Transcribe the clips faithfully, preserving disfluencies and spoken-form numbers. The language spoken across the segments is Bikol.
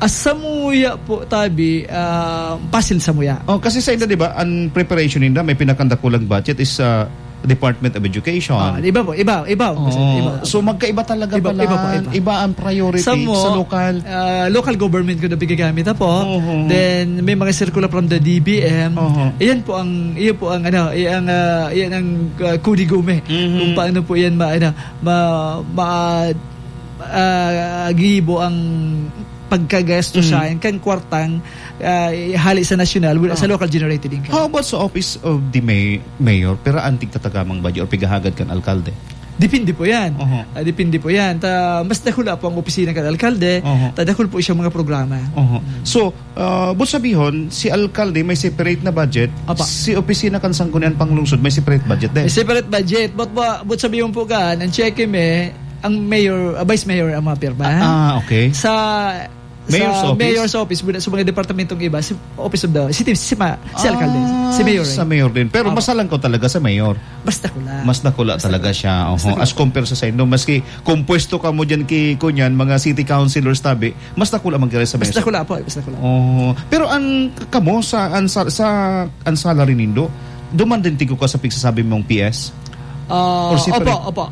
As samuya po, tabi, ah, pasil samuya. Oh, kasi sa inda, di ba, ang preparation ninda, may pinakadakulang budget is, ah, Department of Education. Ah, iba po, iba, iba, Oo. iba. So, magkaiba talaga Iba, pala. iba po, iba. Iba ang priority Sa mo, sa lokal. ah, local government ko na pigagamit, apo. Oo. Then, may mga circular from the D B M. Oo. Iyan po ang, iyan po ang, ano, iyan ang, ah, iyan ang, ah, kudigome. Mhm. Kung paano po yan ma-, ano, ma-, ma-, ah, gibo ang pagkagasto Mm. sa kan kwartang, ah, hali sa nasyonal, wala sa Ah. local generated income. How about sa office of the may-, mayor? Pero antig tatagamang budget or pigahagad kan alkalde? Depende po yan. Oho. Ah, depende po yan. Ta, mas dakula po ang opisina kan alkalde. Oho. Ta, dakul po siyang mga programa. Oho. So, ah, but sabihon, si alkalde may separate na budget, Apa. si opisina kan Sangguniang Panglungsod may separate budget din. May separate budget. But, but, but sabihon po ka, ang cheque me, ang mayor, ah, vice mayor ang mga pirma. Ah, ah, okay. Sa Mayor's sa office? mayor's office, muna sa mga departamentong iba, si office of the city, si ma-, si alkalde, Ah, si mayor, sa eh. mayor din. Pero Opo. mas halangkaw talaga sa mayor. Mas dakula. Mas dakula Mas talaga dakula. siya. Oho. Mas dakula. As compare sa saindo, maski kung pwesto ka mo dyan ki, kunyan, mga city councilors tabi, mas dakula man kaya sa Mas mayor. dakula po, mas dakula. Oh, pero ang k-, kamo sa, ang sa, sa, ang salary nindo, duman din tigo ka sa pigsasabi mong P S? Ah, Or separate? opo, opo.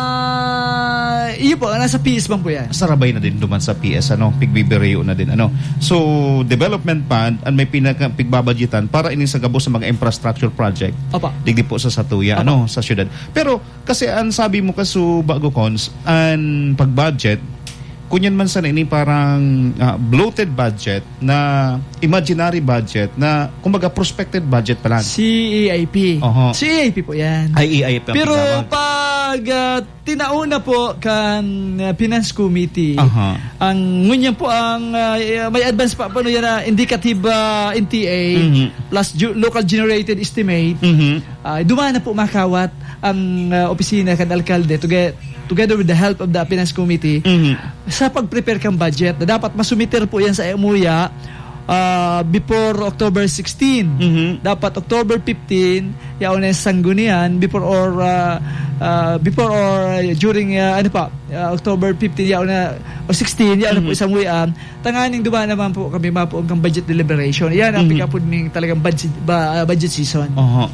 Ah, iyo po, nasa P S man po yan. Sarabay na din duman sa P S, ano, pigbibireyo na din, ano. So, development fund, ang may pinaka-, pigbabadgetan para ining sa gabos sa mga infrastructure project. Opo. Digdi po sa satuya, Opo. ano, sa syudad. Pero, kasi ang sabi mo, kaso bago, Cons, ang pag-budget, kunyan man sana ini parang, ah, bloated budget na imaginary budget na, kumbaga, prospected budget pa lang. C E I P. Oho. C E I P po yan. Ay, E I P ang Pero tinawag. pag, ah, tinao na po kan, ah, Finance Committee, Aha. ang ngunyan po ang, ah, may advance pa po yan na indicative, ah, N T A Mhm. plus ju-, local generated estimate. Mhm. Ah, duman na po makawat ang, ah, opisina kan alkalde to get, together with the help of the Finance Committee, Mhm. sa pag-prepare kang budget na dapat masumiter po yan sa M O Y A, ah, before October sixteen. Mhm. Dapat October fifteen, yaon na yung sanggunian, before or, ah, ah, before or during, ah, ano pa, ah, October fifteen, yaon na, o sixteen, yaon na po Mhm. isang M O Y A. Tanganing duman naman po kami mapuong kang budget deliberation. Yan ang Mhm. pikapod ning talagang budget, ba-, ah, budget season. Oho.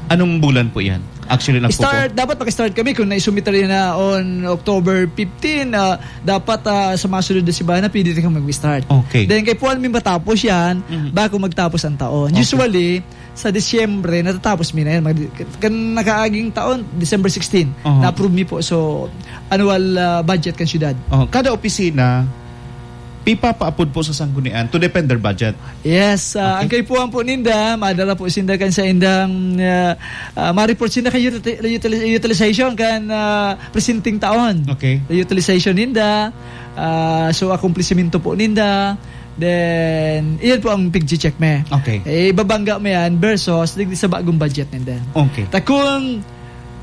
Anong bulan po yan? Actually, nagpupo- Start, dapat mag-start kami kung naisumiter yan na on October fifteen, ah, dapat, ah, sa mga sunod na simbahan na pwede rin kami mag-start. Okay. Then, kay Puan may matapos yan, Mhm. bago magtapos ang taon. Okay. Usually, sa Disyembre, natatapos mi na yan. Mag-, kan nakaaging taon, December sixteen, Aha. na-approve mi po. So, annual, ah, budget kan syudad. Oh, kada opisina, pipapaapod po sa sanggunian to defend their budget. Yes, ah, Okay. ang kaipuhan po ninda, madala po sinda kan sa indang, ah, ah, ma-report sinda kan util-, util-, utilization kan, ah, presenting taon. Okay. Utilization ninda, ah, so akomplisimento po ninda. Then, iyan po ang pigche-check me. Okay. Eh, ibabangga mo yan versus digdi sa bagong budget ninda. Okay. Ta kung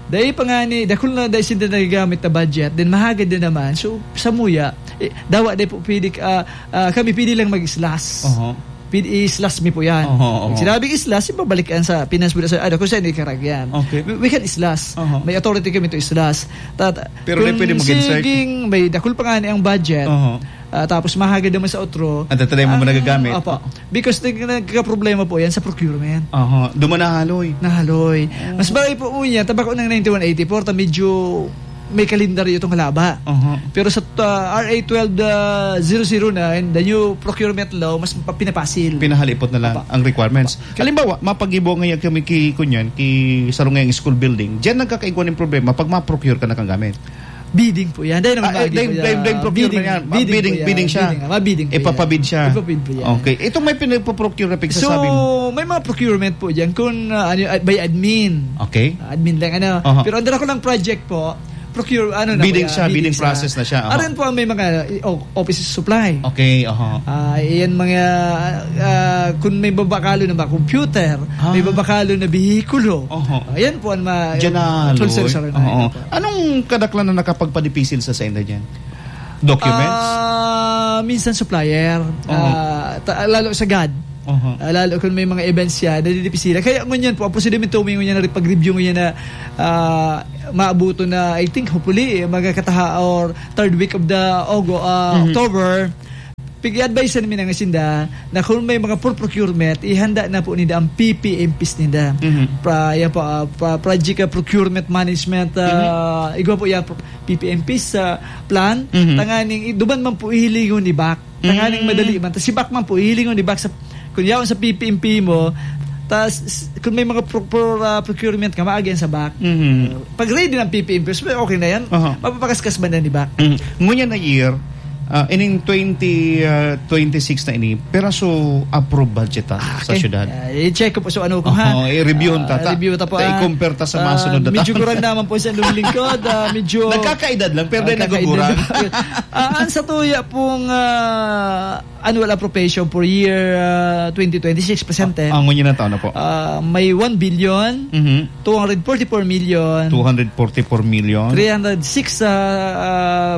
dai pa nga ni, dakul na dai sinda nagagamit na budget, then mahagad din naman. So, samuya, eh, dawa dai po pwede, ah, ah, kami pwede lang mag-islas. Oho. Pwede islas mi po yan. Oho, oho. Pag sinabing islas, ibabalik yan sa finance bill. Sa, ano, kung saan ikarag yan. Okay. We, we can islas. Oho. May authority kami to islas. Tat-, Pero di kung pwede mag-insert. siging may dakul pa nga ni ang budget, Oho. ah, tapos mahagad naman sa otro, Ang tatry mo Ah, nagagamit. opo. Because nag-, nagkakaproblema po yan sa procurement. Aha, duman nahaloy. Nahaloy. Oh. Mas bagay po po niya, tabako ng ninety-one eighty-four, ta medyo may kalendaryo itong halaba. Aha. Pero sa, ah, R A twelve, ah, zero zero nine, the new procurement law, mas pa-, pinapasil. Pinahalipot na lang Apa. ang requirements. Apa. Halimbawa, mapagibo ngayon kami ki, kunyan, ki sarong ngayong school building. Diyan nagkakaigwa ng problema pag ma-procure ka na kang gamit. Bidding po yan. Dahil naman Ah, eh, lagi dahil, po yan. dahil, dahil procurement Bidding, yan. bidding Bidding, po yan. bidding siya. Bidding, ah, mabidding po yan. Ipapabid siya. Ipapabid po yan. Okay. Itong may pinagpo-procure na So, pagsasabi mo. may mga procurement po dyan kung, ah, ano, ah, by admin. Okay. Ah, admin lang, ano. Aha. Pero under ako lang project po, procure, ano na Bidding po yan, siya, bidding bidding siya. process na siya. Aha. Aron po ang may mga, eh, o-, office supply. Okay, aha. Ah, iyan mga, ah, kung may babakalo na ba, computer, Ah. may babakalo na bihikulo. Oho. Ayan po ang ma-, Diyan na, control Loy. center sa rin. Oo. Opo. Anong kadaklan na nakapagpadipisil sa senda diyan? Documents? Ah, minsan supplier. Oo. Ah, ta-, lalo sa gad. Oho. Ah, lalo kung may mga events siya, nadidipisilan. Kaya ngunyan po, ang prosedimento mo ngunyan na pag-review ngunyan na, ah, maabuto na, I think, hopefully, eh, mga kataha or third week of the Ogo-, ah, Mhm. October. i-advise namin ang sinda na kung may mga for procurement, ihanda na po ninda ang P P M Ps ninda. Mhm. Pra-, yan po, ah, pra-, project, ah, procurement management, ah, Mhm. igwa po yan, pro-, P P M Ps sa plan, Mhm. tanganing i-, duman man po ihilingon ni back. Tanganing Mm. madali man. Tas si back man po, ihilingon ni back sa, kung yaon sa P P M P mo, tas s-, kung may mga pro-, pro-, ah, procurement ka, maagi yan sa back. Mhm. Pag ready ng P P M P, okay na yan. Aha. Mapapakaskas man yan ni back. Mhm. Ngunyan na year, ah, ining twenty, ah, twenty-six na ini, piraso approved budget ta Ah, sa okay. syudad. Ah, i-check ko po so ano ko, ha? Oo, i-review ta, Ah, ta. Review ta po, Ta, ah. i-compare ta sa Ah, masunod na medyo taon. kurang naman po sa inyong lingkod. Ah, medyo Nagkakaedad lang, pero Ah, dahil nagkakaedad nagugurang. lang. Ah, ang sa tuya pong, ah, annual appropriation for year, ah, twenty twenty-six, presente. Ah, ngunyan na taon na po. Ah, may one billion, Mhm. two hundred forty-four million, Two hundred forty-four million. three hundred six, ah, ah,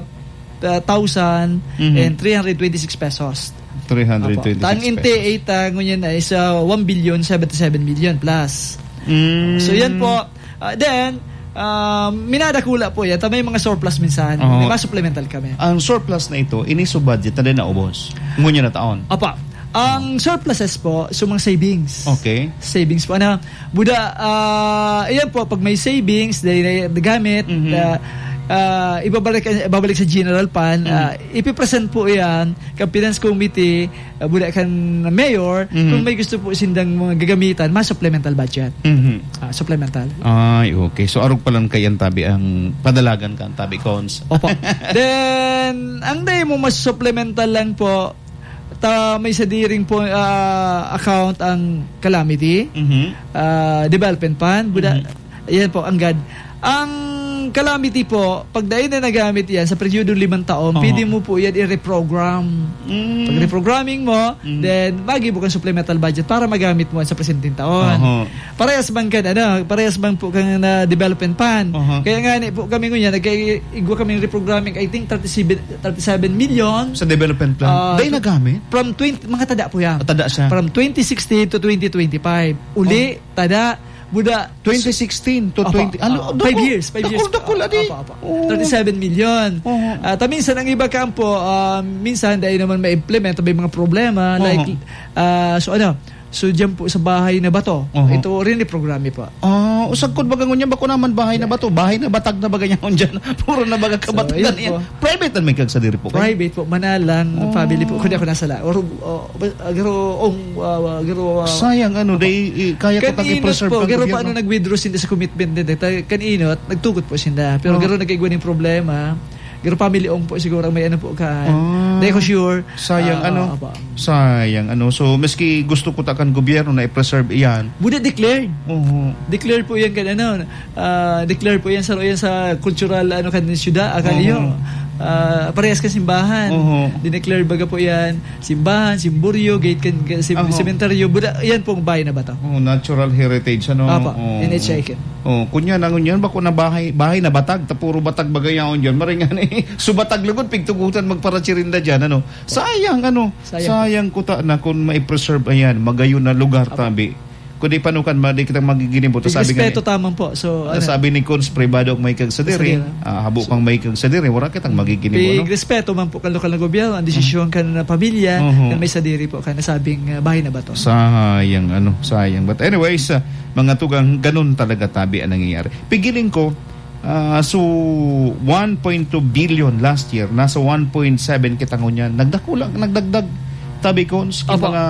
ah, thousand Mhm. and three hundred twenty-six pesos. Three hundred twenty-six Opo. Tang pesos. N T A ta ngunyan na is, ah, one billion seventy-seven million plus. Mm. So, yan po. Ah, then, ah, minadakula po yan. Ta may mga surplus minsan. Oo. May mga supplemental kami. Ang surplus na ito, ini sa budget na din naubos. Ngunyan na taon. Apa, ang surpluses po, so mga savings. Okay. Savings po, ano? Buda, ah, ayan po, pag may savings, dahil na, nagamit, Mhm. ah, ah, ibabalik, ibabalik sa general fund, Mhm. ah, ipipresent po yan kan Finance Committee, ah, buda kan Mayor, Mhm. kung may gusto po sindang mga gagamitan, mas supplemental budget. Mhm. Ah, supplemental. Ay, okay. So, arog pa lang kayan tabi ang padalagan kan tabi, Cons. Opo. Then, ang dahil mo mas supplemental lang po, ta may sadiring po, ah, account ang calamity, Mhm. ah, development fund, buda, Mhm. ayan po, ang gad. Ang calamity po, pag dahil na nagamit yan sa peryodo limang taon, Oho. pwede mo po yan i-reprogram. Mm. Pag reprogramming mo, Mm. then magi mo kang supplemental budget para magamit mo sa presenteng taon. Oho. Parehas bang kan, ano, parehas bang po kan, ah, development fund? Aha. Kaya nga ni po kami ngunyan, nagkaigwa kaming reprogramming, I think, thirty-seven, thirty-seven million. Sa development plan? Ah, Dahil so, nagamit? from twenty, mga tada po yan. Ah, tada siya. From twenty sixteen to twenty twenty-five. Uli, Oh. tada, buda. Twenty sixteen to Opo, twenty, ano, opo. Five dakul, years, five years. dakul, dakul, adi. Opo, opo. Oo. Thirty-seven million. Oo. Ah, ta minsan, ang iba kampo, ah, minsan, dahil naman ma-implement, may mga problema, Oo. like, ah, so ano, So, diyan po sa bahay na bato. Oho. Ito rin ni programa po. Ah, usagkod baga ngunyan, bako naman bahay na bato. Bahay na batag na baga niya ngunyan. Puro na baga So, kabatagan ayun yan. po. Private na may kagsadiri po kayo? Private po, manalang Oh. family po. Kundi ako nasa la-, or, oh, ba-, ah, garo, ong, ah, garo, ah, Sayang, ano, Opo. day, i-, kaya ko Kan tang inot i-preserve po, ang garo pa gobyerno. ano nag-withdraw sinda sa commitment din, eh. Ta-, kan inot, nagtugot po sinda. Pero Oh. garo nag-igwa ning problema. Garo family ong po siguro ang may ano po kan. Ah. Di ko sure. Sayang, Ah, ano? opo. Sayang, ano? So, maski gusto ko ta kan gobyerno na i-preserve iyan. Buda declared. Oo. Declared po yan kan ano, ah, declared po yan sa, yan sa cultural, ano, kan syudad, ah, kan Oo. iyo. Ah, parehas kan simbahan. Oo. Dineclare baga po yan. Simbahan, simboryo, gate kan, kan sim-, Aha. sementeryo. Buda, yan pong bahay na bato. Oh, natural heritage, ano? Opo, Oo. N H I K. Oh, kunya na ngunyan, bako na bahay, bahay na batag, ta puro batag bagay yaon dyan. Maray nga ni, so batag lugod, pigtugutan magparachirinda dyan, ano? Sayang, ano? Sayang. Sayang kuta na kung mai-preserve, ayan, magayon na lugar, Apo. tabi. Kundi panukan, ma-, di kitang magiginibo. Ta sabi nga Respeto ni, taman po. So, ta ano? sabi ni Cons, pribado ang may kagsadiri. Kagsadiri. Ah, habo So, kang may kagsadiri, wala kitang magiginibo, no? Pig respeto man po kan lokal na gobyerno, ang desisyon kan, ah, pamilya, Mhm. kan may sadiri po, kan nasabing, ah, bahay na bato. Sayang, ano, sayang. But anyways, ah, mga tugang, ganun talaga tabi ang nangyayari. Pigiling ko, ah, so one point two billion last year, nasa one point seven kita ngunyan. Nagdakula, nagdagdag. Tabi ko, sa Opo. mga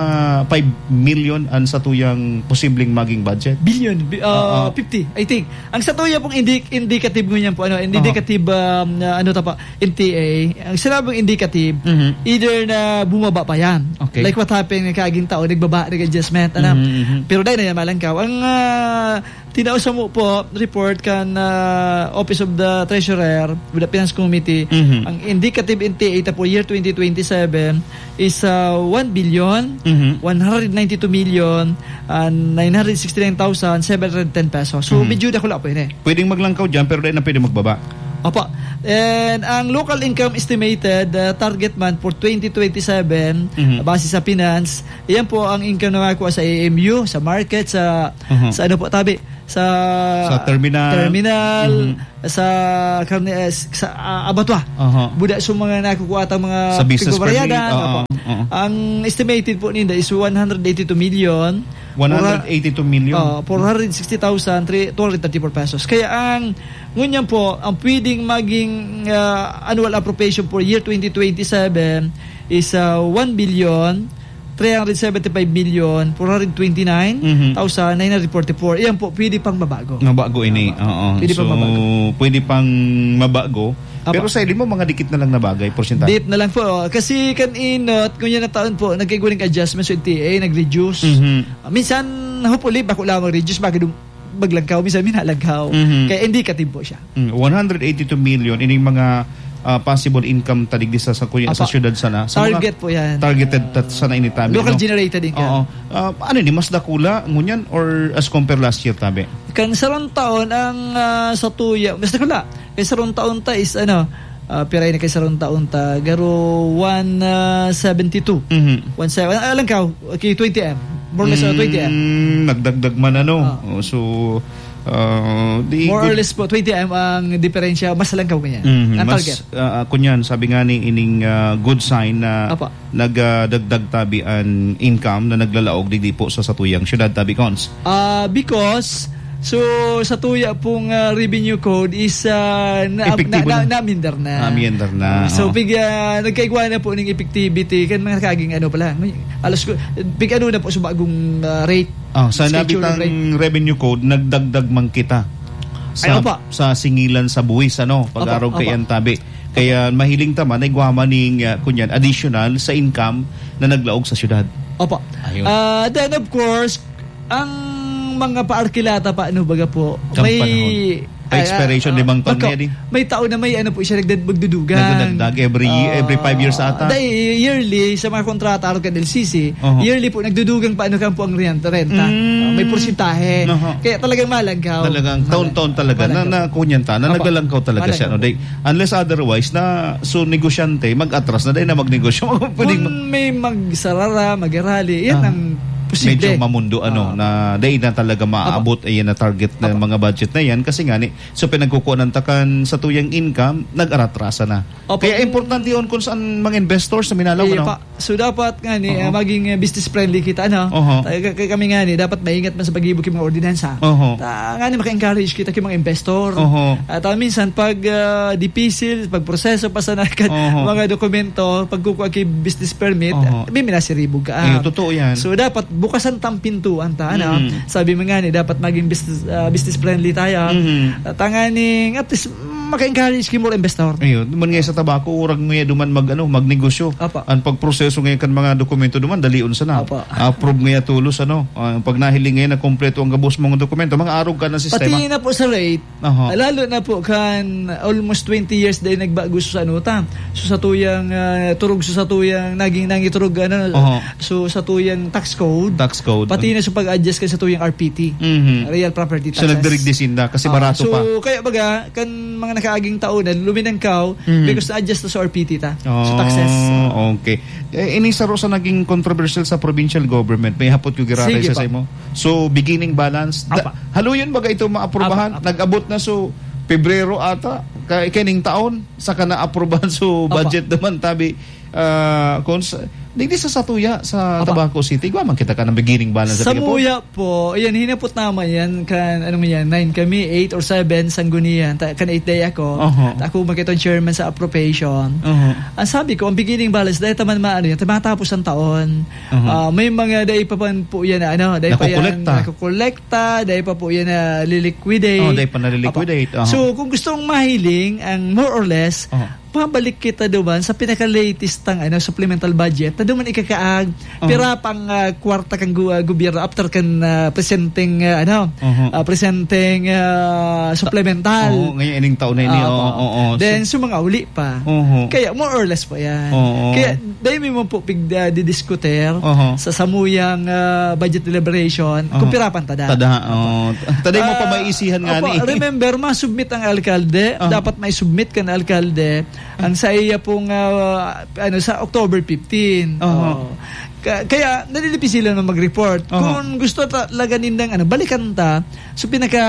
five million ang satuyang posibleng maging budget. Billion, bi-, ah, Oo. fifty, I think. Ang satuya pong indi-, indicative ngunyan po, ano, indicative, Oho. um, na ano ta pa, N T A, ang sinabing indicative, Mhm. either na bumaba pa yan. Okay. Like what happened ng kaaging taon, nagbaba, nag-adjustment, ano. Mhm, mhm. Pero dahil na yan, malangkaw. Ang, ah, tinao sa mo po, report kan, ah, Office of the Treasurer with the Finance Committee, Mhm. ang indicative N T A ta po year twenty twenty-seven is, ah, one billion, Mhm. one hundred ninety-two million, and nine hundred sixty-nine thousand seven hundred ten pesos. So, Mhm. medyo dakula po yun eh. Pwedeng maglangkaw dyan, pero dahil na pwede magbaba. Opo. And ang local income estimated, uh, target man for twenty twenty-seven, Mhm. base sa finance, iyan po ang income na makuha sa A M U, sa market, sa, Mhm. sa ano po, tabi. sa Sa terminal. terminal, Mhm. sa karne, eh, sa, ah, abatwa. Aha. Buda sa mga nakukuha ta mga Sa business permit, pigbabaryadan, oo, apo. oo. Ang estimated po ninda is one hundred eighty-two million, One hundred eighty-two million. Oh, four hundred sixty thousand, three, two hundred thirty-four pesos. Kaya ang, ngunyan po, ang pwedeng maging, ah, annual appropriation for year twenty twenty-seven is, ah, one billion, three hundred seventy-five million, four hundred twenty-nine thousand, nine hundred forty-four. Mhm. Iyan po, pwede pang mabago. Mabago ini, Tama. oo. Pwede So, pang mabago. pwede pang mabago. Apa. Pero sa ili mo, mga dikit na lang na bagay, porsyentahe. Dikit na lang po. Kasi kan inot, ngunyan na taon po, nagkaigwa ning adjustment sa N T A, nag-reduce. Mhm. Ah, minsan, hopefully, bako lang mag-reduce, baka dum-, maglangkaw. Minsan, minalangkaw. Mhm. Kaya indicative po siya. Mm, one hundred eighty-two million, ining mga, ah, possible income ta digdi sa, sa kuya, sa Apa. syudad sana. Sa mga Target po yan. targeted ta-, sana ini tabi, Local no? generated income. Oo. Ah, ano ni, mas dakula, ngunyan, or as compare last year, tabi? Kan sarong taon, ang, ah, sa tuya, mas dakula. Kay sarong taon ta is, ano, ah, pira ini kay sarong taon ta? Garo one, ah, seventy-two. Mhm. One seven, ah, alangkaw, okay, twenty M. More or less, ah, twenty M. Mm, nagdagdag man, ano. Ah. Oh, so, ah, di More or good. less po, twenty M ang diferensya, mas alangkaw kanya. Mhm, Ang mas, target. ah, ah, kunyan, sabi nga ni ining, ah, good sign na Apa. nag, ah, dagdag tabi an income na naglalaog digdi po sa satuyang syudad, tabi, Cons. Ah, because, so, sa tuya pong, ah, revenue code is, ah, na, Epektibo na, na, na. naamendar na. Naamendar na, So, oo. pig, ah, nagkaigwa na po ning effectivity, kan mga kaging ano pala, may, alas ko, pig ano na po sa bagong, ah, rate. Oh, sa Schedule nabitang rate. revenue code, nagdagdag man kita Ay, sa, opa. sa singilan sa buwis, ano, Opa, pag-arog kay opa. Antabi. Kaya mahiling ta man, igwa man ning, ah, kunyan, additional sa income na naglaog sa syudad. Opo. Ayun. Ah, then, of course, ang mga paarkilata pa, ano, baga po, Kang may, panahon. Pa ah, expiration, ah, limang taon magka-, na yan, eh. may taon na may, ano po siya, nagdad-, magdudugang. Nagdadagdag every ye-, every five years Ah, ata. dahil yearly, sa mga kontrata, arog kan L C C, Oho. yearly po, nagdudugang pa, ano, kan po ang renta, renta. Mm. Ah, may porsyentahe. Oho. Kaya talagang malangkaw. Talagang Malangkaw. taon-taon talaga na, Malangkaw. na kunyan ta, na Opo. naglalangkaw talaga siya, Malangkaw no? po. They, unless otherwise, na, so, negosyante, mag-atras na, dahil na magnegosyo. Pwedeng Kung ma- may magsarara, magrally, yan Ah. ang posible. Medyo mamundo, ano, Ah. na dahil na talaga Opo. maabot, ayan na target na Opo. mga budget na yan. Kasi nga, ni, so, pinagkukunan ta kan sa tuyang income, nag-aratrasa na. Opo. Kaya importante yun kung saan mga investors sa Minalaw, Iya ano? pa. So, dapat nga ni, Oo. ah, maging, ah, business friendly kita, ano? Oho. Kaya, kaya kami nga ni, dapat maingat man sa pag-ibo ki mga ordinansa. Oho. Ta, nga ni, maka-encourage kita ki mga investor. Oho. At, ah, minsan, pag, ah, dipisil, pag proseso, pasanakan, Oho. mga dokumento, pagkukuha ki business permit, Oho. ah, may minasiribog ka, ah. Iyo, totoo yan. So, dapat bukasan tang pintuan ta, ano? Mm. Sabi mo nga ni, dapat maging business, ah, business friendly tayo. Mm. At, ah, nga ni, at least, maka-encourage ki more investor. Ayun, duman nga sa tabako, urag nga duman mag, ano, magnegosyo. Apa. Ang pagproseso nga kan mga dokumento duman, dalion sana. Apa. Approve nga tulos, ano. Ah, pag nahiling nga na kompleto ang gabos mong dokumento, mga arog ka na sistema. Pati na po sa rate, Aha. lalo na po kan almost twenty years dahil nagbago sa ano ta. So, sa tuyang, ah, turog, so, sa tuyang naging nangiturog, ano, Aha. so, sa tuyang tax code. Tax code. Pati na sa pag-adjust ka sa tuyang R P T. Mhm. Real property So, taxes. nagdirigdi sinda kasi Ah, barato so, pa. kaya baga, kan mga nakaaging taon na luminangkaw, Mhm. because na-adjust na sa R P T ta. So, Oh, taxes. okay. Eh, ini saro sa naging controversial sa provincial government, may hapot ko giraray Sige siya pa. sa imo. So, beginning balance, da-, Apa. haluyon baga ito maaprubahan? Apa, apa. Nag-abot na, so, Pebrero ata, ka-, kining taon, saka naaprubahan, so, Apa. budget naman, tabi, ah, kung sa, digdi sa satuya, sa Apa. Tabaco City, igwa man kita ka ng beginning balance sa Sa Pigapo. muya po, yan, hinapot naman yan, kan, ano mo yan, nine kami, eight or seven, sanggunian, ta-, kan eight day ako. Oho. Ta-, ako makita ang chairman sa appropriation. Oho. Ang sabi ko, ang beginning balance, dahil taman maano yan, tumatapos ang taon. Oho. Ah, may mga dahil pa man po yan, na ano, dahil pa yan, Nakukolekta. nakukolekta, dahil pa po yan, na liliquidate. Oh, dahil pa naliliquidate. Apa. Oho. So, kung gusto mong mahiling, ang more or less, Oho. pabalik kita duman sa pinaka-latest tang, ano, supplemental budget na duman ikakaag, Aha. pira pang, ah, kwarta kan gu-, ah, gobyerno after kan, ah, presenteng, ah, ano, Aha. ah, presenteng, ah, supplemental. Oo, ngayon, ining taon na ini, Ah, oo, opo. oo, oo. Then, So, sa mga uli pa. Oho. Kaya, more or less pa yan. Oo. Kaya, dahil may mga po pig-, ah, didiskuter Aha. sa samuyang, ah, budget deliberation, Aha. kung pira pang tada. Tada, oo. Tada mo pa Ah, maisihan nga opo, ni. remember, masubmit ang alkalde. Aha. Dapat may submit kan alkalde. Ang sa iya pong, ah, ano, sa October fifteen. Oho. Oo. Ka-, kaya, nalilipi sila na mag-report. Oho. Kung gusto talaga nindang, ano, balikan ta, so pinaka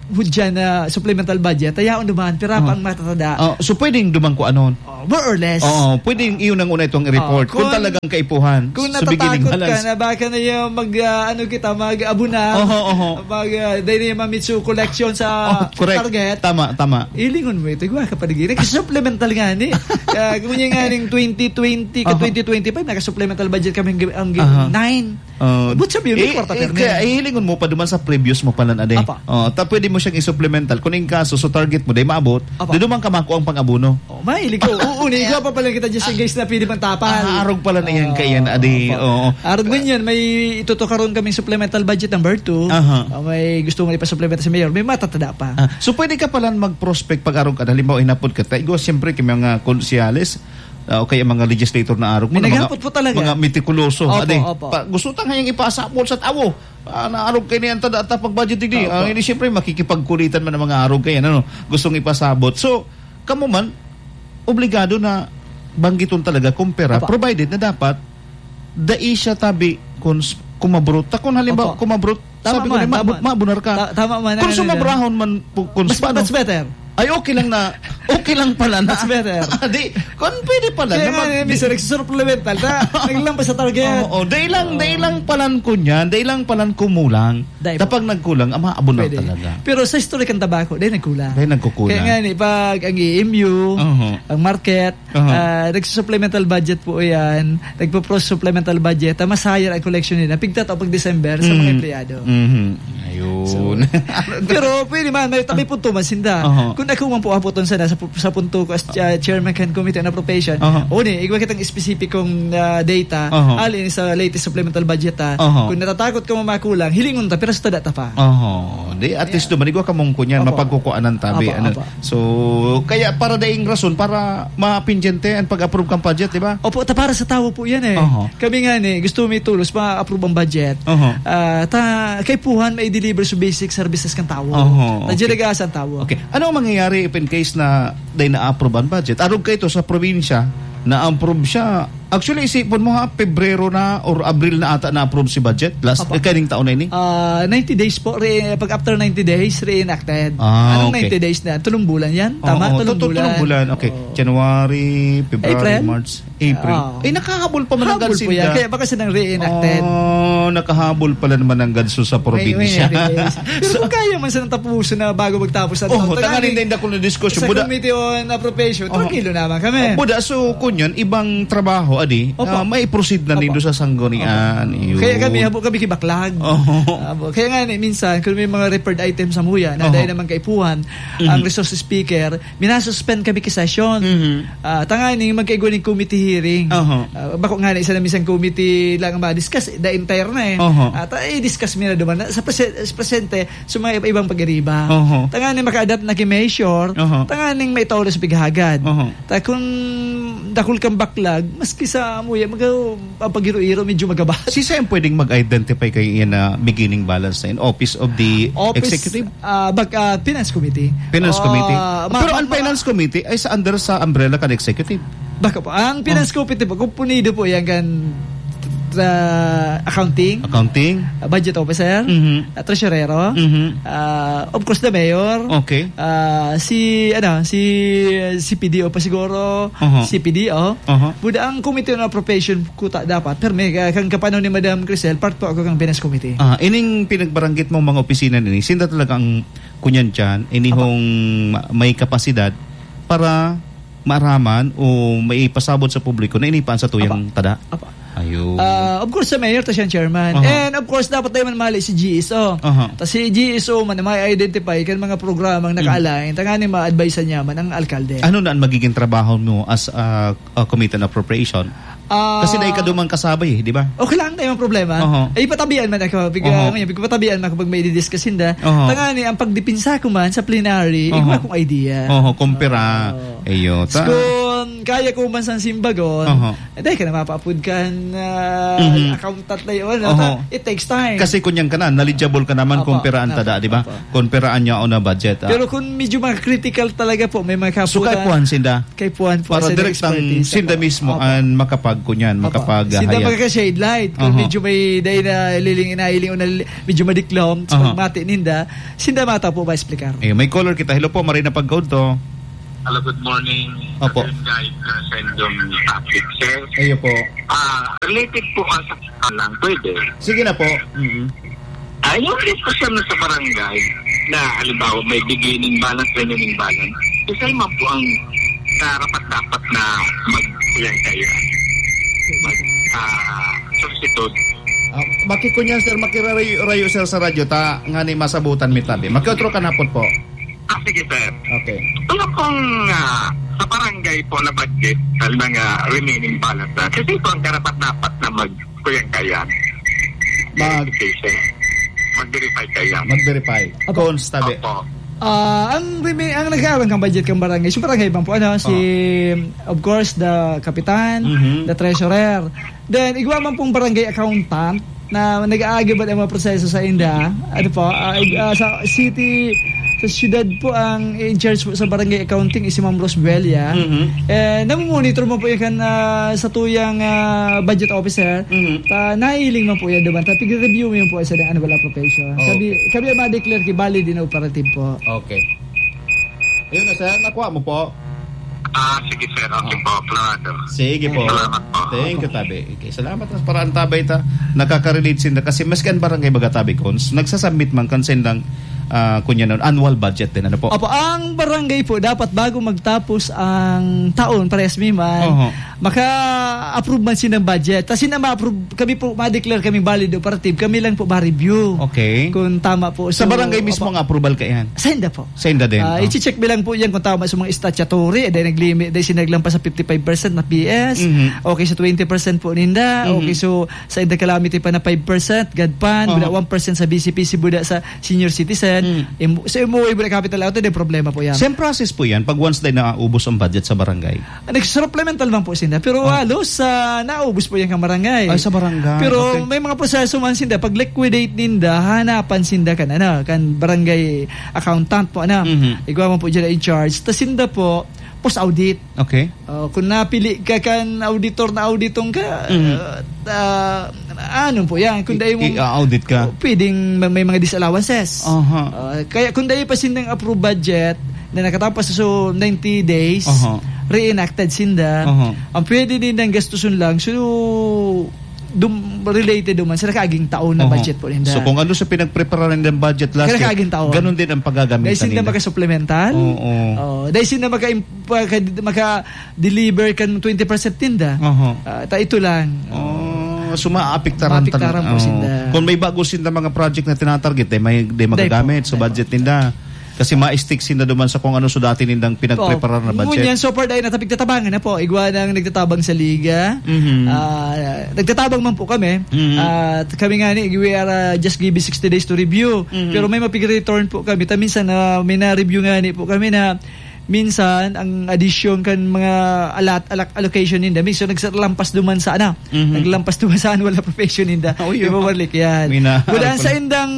hudyan na supplemental budget, ayaw duman, pira pa Oo. ang matatada. Oh, so pwedeng duman kung anon? Oh, more or less. Oo, pwedeng iyon ang una itong i-report. Oh, Kung kung, talagang kaipuhan, kung sa beginning natatakot ka balance. na baka na yung mag, ah, ano kita, mag-abuna, Oho, oho. mag, ah, dahil na yung mamitsu collection sa Oh, correct. target. Tama, tama. Ilingon mo ito, igwa ka pa digiri. Kasi supplemental nga ni. Ah, kung yan nga ning twenty twenty ka Oh. twenty twenty-five, naka-supplemental budget kami ang, ang Aha. nine. Oh, But sabi yun, may eh, kwarta eh, permi. kaya ihilingon mo pa duman sa previous mo pala na, de. Apa. Oh, ta pwede mo siyang i-supplemental. Kung in kaso, so target mo, de, maabot, Apa. di duman ka makuha ang pang-abono. Oh, mahilig ko. Oo, niya pa pala kita just in case na pwede pang tapal. Ah, arog pala na yan, Ah, kaya na, ade. apa. Oo. Arog mo yan, may itutukaron kaming supplemental budget number two. Aha. Ah, may gusto mo ipa-supplemental sa mayor, may matatada pa. Ah, so pwede ka pala mag-prospect pag arog ka. Halimbawa, hinapod ka, ta, igwa, siyempre, kay mga konsehales, ah, o kaya mga legislator na arog mo, May na mga, naghapot po talaga. mga metikuloso. Opo, Ade, opo. pa, gusto ta ngayang ipasabot sa tawo. Ah, naarog kayo niyan, tada, ta pag-budget, hindi. Opo. Ah, hindi, siyempre, makikipagkulitan man ang mga arog kayo, ano, gustong ipasabot. So, kamo man, obligado na banggiton talaga kung pera, Opo. provided na dapat, dai siya tabi kung s-, kumabrot. Ta kung halimbawa, Opo. kumabrot, Tama sabi ko man, na, tama. mabu-, mabunar ka. Ta-, tama man, Kung ano, ano. sumabrahon man, pu-, kung Mas, spano. mas better. Ay, okay lang na, okay lang pala na. Mas better. Ah, di, kung pwede pala Kaya na nga, mag- eh, minsan nagsusupplemental, ta, naglampas sa target. Oo, dahil lang, Oo. dahil lang palan ko niyan, dahil lang palan kumulang. Dahil Kapag nagkulang, ama, abon na Pwede. talaga. Pero sa historic ng tabako, dahil nagkulang. Dahil nagkukulang. Kaya nga, ni, pag ang E M U, Oo. ang market, Oo. ah, nagsusupplemental budget po yan, nagpo-pro-supplemental budget, ah, mas higher ang collection nila. Pigtatao pag December sa mga Mm. empleyado. Mhm. Ayun. So, pero pwede man, may, may punto man sinda. Aha. Kung ako man po apoton sana sa pu-, sa punto ko as, ah, chairman kan Committee on Appropriation, Aha. o ni, igwa kitang espesipikong, ah, data, Aha. alin sa latest supplemental budget, ah. Aha. Kung natatakot ka mamakulang, hilingon ta, pero sa tada ta pa. Aha. Di, at least Yeah. duman, igwa ka mong kunyan, Opo. mapagkukuanan tabi, Opo, ano. opo. So, kaya para daing rason, para mapindyente ang pag-approve kang budget, di ba? Opo, ta para sa tawo po yan eh. Aha. Kami nga ni, gusto mi tulos ma-approve ang budget. Aha. Ah, ta, kaipuhan, ma-deliver sa basic services kan tawo. Aha, Ta okay. dyan nag-aasa ang tawo. Okay. Ano ang mangyayari if in case na dahil na-approve ang budget? Arog ka ito sa probinsya, na-approve siya. Actually, isipon mo ha, Pebrero na or Abril na ata na-approve si budget. Last, Apa. eh, kaning taon na ini? Ah, ninety days po, re-, pag after ninety days, reenacted. Ah, Anong okay. ninety days na? Tulong bulan yan? Tama, Oo, tulong tu-, tu-, bulan. tulong bulan. Okay. Oo. January, February, April? March, April. Oo. Eh, nakahabol pa man ang Habol po gansinda. yan. Kaya baka silang reenacted. Oh, nakahabol pala naman ang ganso sa May, may probinsya. ninety days. Pero So, kung kaya man silang tapusin na bago magtapos ang Oh, taon, tanganing tanganing dahil dakul na diskusyon. sa Buda. Committee on Appropriation, Oh. tranquilo naman kami. Oh, buda, so, kun yun, ibang trabaho, adi, Opo. ah, may proceed na Opo. nindo sa sanggunian. Opo. Yun. Kaya kami, habo kami kibaklag. Oho. Habo. Kaya nga, ni, minsan, kung may mga referred items sa muya, na Oho. dahil naman kaipuhan, Mhm. ang resource speaker, minasuspend kami ki session. Mhm. Ah, tanganing magkaigwa ning committee hearing. Oho. Ah, bako nga na isa na minsan committee lang ang ma-discuss, the entire na eh. Oho. At, ah, i-discuss mi na duman. Sa prese-, sa presente, sa mga iba-ibang pag-iriba. Oho. Tanganing maka-adapt na ki measure, Oho. tanganing maitaw na sa pighagad. Oho. Ta kun dakul kang baklag, maski sa muya, maga-, ang pag-iro-iro, medyo magabat. Sisay ang pwedeng mag-identify kayo yan na beginning balance na in office of the Office, executive? ah, bag-, ah, Finance Committee. Finance Ah, Committee? ma-, Pero ma-, ang ma- Finance Committee ay sa under sa umbrella kan executive. Baka po. Ang Finance Oh. Committee po, kumpunido po yan kan, ah, accounting, Accounting? ah, budget officer, Mhm. ah, treasurero, Mhm. ah, of course, the mayor, Okay. ah, si, ano, si C P D O pa siguro, Aha. C P D O. Aha. Buda ang Committee on Appropriation kuta dapat, pero may, ah, kang kapanon ni Madam Crisel, part po ako kang Finance Committee. Ah, ining pinagbaranggit mong mga opisina nini, sinda talaga ang kunyan dyan, inihong Apa. ma-, may kapasidad para maaraman o maipasabot sa publiko na ini pa ang satuyang Apa. tada? Apa. Ayun. Ah, of course, sa mayor, ta siyang chairman. Aha. And of course, dapat tayo man mali si G S O. Aha. Ta si G S O man, may identify kan mga programang Mm. naka-align, tanganing ma-advise niya man ang alkalde. Ano na ang magiging trabaho mo as a, a committee on appropriation? Ah, Kasi dai ka duman kasabay eh, di ba? Okay lang, tayo ang problema. Aha. Ay, patabian man ako. Pig-, Aha. ah, ngayon, pigpatabian man ako pag may i-discuss hinda. Aha. Tanganing, ang pagdipinsa ko man sa plenary, Aha. igwa akong idea. Aha, kumpara. Oo. Iyo, ta- Kung Kaya ko man sang simbagon, Aha. eh, dai ka na mapaapod kan, ah, Mhm. accountant na yun, ano, Oho. ta-, it takes time. Kasi kunyang ka na, knowledgeable ka naman Opo, kung pera ang opo, tada, di ba? opo. Kung pera ang yaon na budget, ah. Pero kung medyo mga critical talaga po, may mga So, kapuhan. kaipuhan sinda? Kaipuhan po, Para sa direktang expertise, sinda opo. mismo Opo. ang makapag-, kunyan, Opo. makapag-, Sinda hayag. magkaka-shade light. Kung Oho. medyo may dai na liling, inailing o nal-, medyo madiklom, sa Oho. pagmati ninda, sinda mata po ba explicar? Eh, may caller kita. Hello po, Marina Pagkaudto. Hello, good morning, Opo. Sir Guy, uh, Sendong Patrick, sir. Ayo po. Ah, related po ka sa lang, pwede. Sige na po. Mm-mm. Ah, yung request ko sa barangay na, halimbawa, may beginning balance, remaining balance. Isa man po ang karapat-dapat na mag-, yan kayo. Mag-, ah, solicitude. Ah, makikunyan, sir, makirarayo-rayo, sir, sa radyo, ta, ngani masabutan mi tabi. Makiotro kan hapon po. Ah, sige, sir. Okay. Wala pong, ah, sa barangay po na budget, sa mga remaining balance na. Kasi ito ang karapat-dapat na mag-, kuyan-kayan. Mag- Verification. Mag-verify kayan. Mag-verify. Opo. Constable. Opo. Ah, ang remi-, ang nag-aaral ng budget ng barangay, sa barangay bang po, ano, si, Oh. of course, the kapitan, Mhm. the treasurer. Then, igwa man pong barangay accountant na nag-aagibad ang mga proseso sa inda. Ano po, ah, ig-, ah, sa city, sa siyudad po, ang in charge po sa barangay accounting is si Ma'am Rosbelia. Mhm. Eh, namumonitor mo po yan kan, ah, sa tuyang, ah, budget officer. Mhm. Ah, nahiling man po yan duman. Tapos, review mo yun po sa annual appropriation. Oh, Kami, okay. kami ang ma-declare ki valid in operative po. Okay. Ayun na, sir. Nakuha mo po? Ah, sige, sir. Okay Ah. po. Klarado. Sige po. Salamat po. Thank you, Tabi. Okay, salamat na para ang Tabi ta. Nakaka-relate sinda kasi maski ang barangay baga, Tabi Cons, nagsasubmit man kan sindang, ah, kunya nun, annual budget din. Ano po? Opo, ang barangay po, dapat bago magtapos ang taon, parehas mi man, Oho. maka-approve man sinda ng budget. Tas sinda ma-approve, kami po, ma-declare kami valid operative. Kami lang po ma-review. Okay. Kung tama po. Sa So, barangay mismo opo. ang approval kaiyan? Sa inda po. Sa inda din, Ah, oh. i-check mi lang po yan kung tama sa mga statutory. Eh, dahil nag-limit, dahil sinaglampas sa fifty-five percent na P S. Mhm. Okay, sa twenty percent po ninda. Mhm. Okay, so, sa inda calamity pa na five percent, GAD Fund, Aha. wala one percent sa B C P C, buda sa senior citizen. Mm. Im-, sa M O A, buda capital outlay, di problema po yan. Same process po yan pag once na naubos ang budget sa barangay? Nagsupplemental man po sinda, pero Ah. halos, ah, naubos po yan kan barangay. Ay, sa barangay. Pero Okay. may mga proseso man sinda, pag liquidate ninda, hanapan sinda kan, ano, kan barangay accountant po, ano. Mhm. Igwa man po dyan in charge. Tas sinda po, post-audit. Okay. Oh, kung napili ka kan auditor na auditong ka, Mhm. ah, ah, ano po yan? Kung I-, dahil mong i-audit ka? Oh, pwedeng may, may mga disallowances. Aha. Ah, kaya kung dahil pa sindang approved budget, na nakatapos sa so ninety days, Aha. reenacted sinda. Aha. Ang pwede nindang gastuson lang, so, dum-, related naman sa nakaaging taon na Aha. budget po ninda. So, kung ano sa pinagpreparahan ng budget last year, Kaya nakaaging taon. ganun din ang pagagamitan Dahil sinda nila. makasupplemental. Oo. Oh, dahil sinda maka-, maka-, maka-deliver kan twenty percent ninda. Aha. Ah, ta ito lang. Oh, so maapektaran Maapektaran talaga. po Oo. sinda. Kung may bago sinda mga project na tinatarget, eh, may, di Dahil magagamit po, sa dahil budget po. ninda. Kasi ma-stick sinda duman sa kung ano sa dati nindang pinagpreparar na Oo. budget. Ngunyan, so far, dahil nata-, pigtatabangan na po. Igwa nang nagtatabang sa liga. Mhm. Ah, nagtatabang man po kami. Mhm. At kami nga ni, we are, ah, just giving sixty days to review. Mhm. Pero may mapig-return po kami. Ta minsan, ah, may na-review nga ni po kami na minsan, ang addition kan mga allot-, allot-, allocation ninda, minsan nagsalampas duman sa, ano, Mhm. naglampas duman sa annual appropriation ninda. Oh, yun. Ibabalik yan. May na-, Buda ano sa pala? indang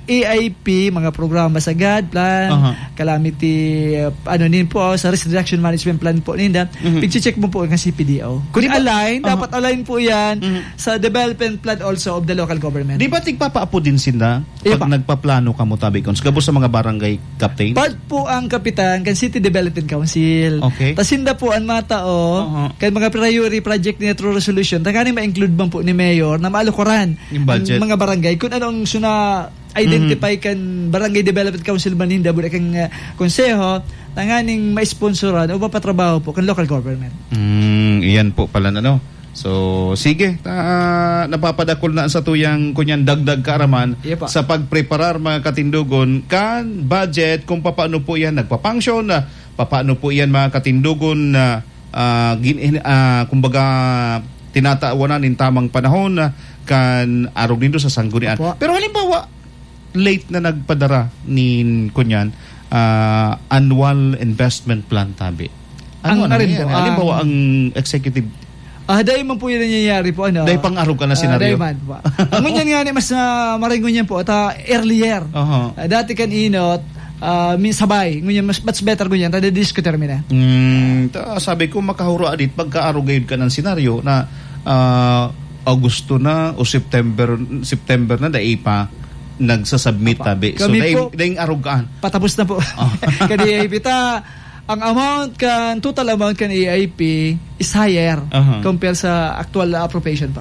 A I P, mga programa sa GAD Plan, Aha. calamity, uh, ano nin po, oh, sa risk reduction management plan po ninda, Mhm. pag-check mo po ang C P D O. Kung Di ba? align, Aha. dapat align po yan Mhm. sa development plan also of the local government. Di ba tigpapaapo din sinda Iya pag pa. nagpaplano kamo, tabi kon, sa gabos sa mga barangay, Captain? Part po ang kapitan kan City Development Council. Okay. Tas sinda po ang matao Aha. kan mga priority project ni through resolution, tanganing ma-include man po ni Mayor na maalukuran Yung budget. ang mga barangay kung anong suna identify Mhm. kan Barangay Development Council man ninda, buda kan, ah, konseho, tanganing maisponsoran o mapatrabaho po kan local government. Mm, iyan po pala na, no? So, sige, ta-, napapadakol na sa tuyang kunyan dagdag kaaraman Iya pa. sa pagpreparar, mga katindogon, kan budget, kung papaano po yan nagpapangsyon, ah, papaano po yan, mga katindogon, na, ah, gin-, ah, kumbaga, tinatawanan nin tamang panahon, ah, kan arog nindo sa sanggunian. Opo. Pero halimbawa, late na nagpadara nin, kunyan, ah, annual investment plan, tabi. Ano, ano na rin yan? Halimbawa, ang executive, ah, dai man po yan nangyayari po, ano. Dai pang-arog ka na senaryo. Ah, dai man po. Ang ngunyan nga ni mas, ah, maray ngunyan po, ta earlier. Aha. Ah, dati kan inot, ah, mi-, sabay. Ngunyan, mas, much better ngunyan. Tada diskutir mi na. Mm, ta, sabi ko, makahuro adit pagka-arog gayud ka ng senaryo na, ah, Agosto na o September, September na, dai pa nagsasubmit, tabi. So, kami dai, po, dai arog ka. Patapos na po. Oh. Kadi ay pita, ang amount kan, total amount kan A I P is higher, aha, compare sa actual na appropriation pa.